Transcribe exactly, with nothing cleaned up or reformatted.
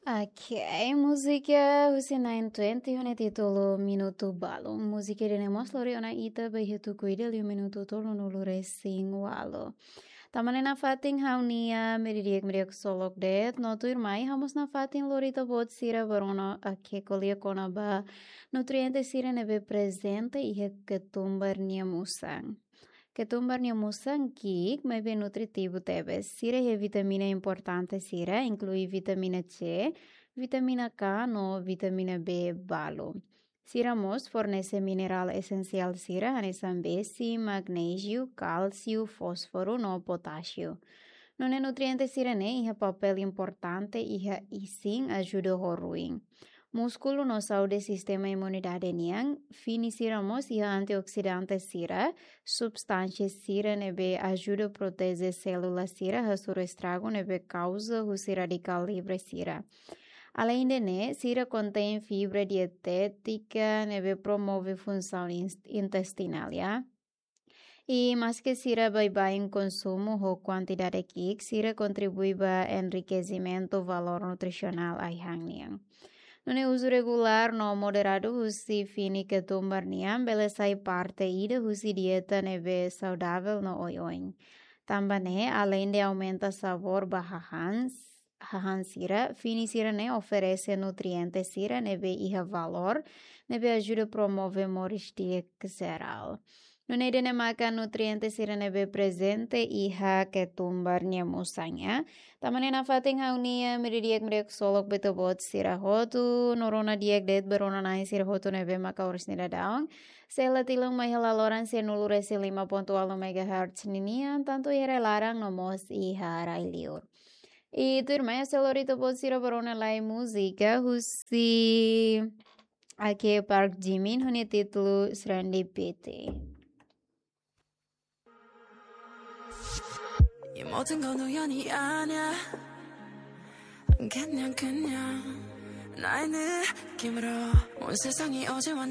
Ok, múzika husi Nine Twenty ho nia títulu Minutu Balu. Múzika ida-ne'e mós lori ona ita ba iha tuku ida liu minutu tolunulu resin ualu. Tanba ne'e nafatin ha'u-nia meiudia di'ak, meiudia ksolok de'it, no tuirmai ha'u mós nafatin lori ita-boot sira ba rona, ok, ko'alia kona-ba nutriente sira ne'ebé prezente iha ketumbar nia musan. Ketumbar nia musan ki'ik, maibé nutritivu tebes. Sira iha vitamina importante sira, inklui vitamina C, vitamina K no vitamina B balu. Sira mós fornese minerál esensiál sira, hanesan besi, magnéziu, kálsiu, fósforu no potásiu. Nune'e nutriente sira-ne'e iha papél importante iha isin, ajuda ho ruin múskulu no saúde sistema imunidade nian. Fini sira mós iha antioksidante sira, substánsia sira ne'ebé ajuda proteje sélula sira hasoru estragu ne'ebé kauza husi radikál livre sira. Aleinde ne'e, sira kontein fibra dietétika ne'ebé promove funsaun ins-, intestinál, ya. I maske sira baibain konsumu ho kuantidade ki'ik, sira kontribui ba enrikezimentu valór nutrisionál ai-han nian. Nune'e uzu regulár no moderadu husi fini ketumbar nian bele sai parte ida husi dieta ne'ebé saudavel no oioin. Tanba ne'e, aleinde aumenta sabór ba hahán, hahán sira, fini sira-ne'e oferese nutriente sira ne'ebé iha valór, ne'ebé ajuda promove moris di'ak jerál. Nune'e ida-ne'e maka nutriente sira ne'ebé prezente iha ketumbar nia musan, ya. Tanba ne'e nafatin ha'u-nia meiudia di'ak, meiudia ksolok ba ita-boot sira hotu, no rona di'ak de'it ba rona-na'in sira hotu ne'ebé maka oras ne'e daudaun sei la tilun mai iha laloran sianulu resin lima pontu ualu megahertz ninian, tantu iha rai laran no mós iha rai liur. I tuirmai ha'u sei lori ita-boot sira ba rona lai múzika husi, ok, Park Jimin ho nia títulu Serendipity. 이 모든 건 우연이 아냐. 그냥 그냥 나의 느낌으로 온 세상이 어제와는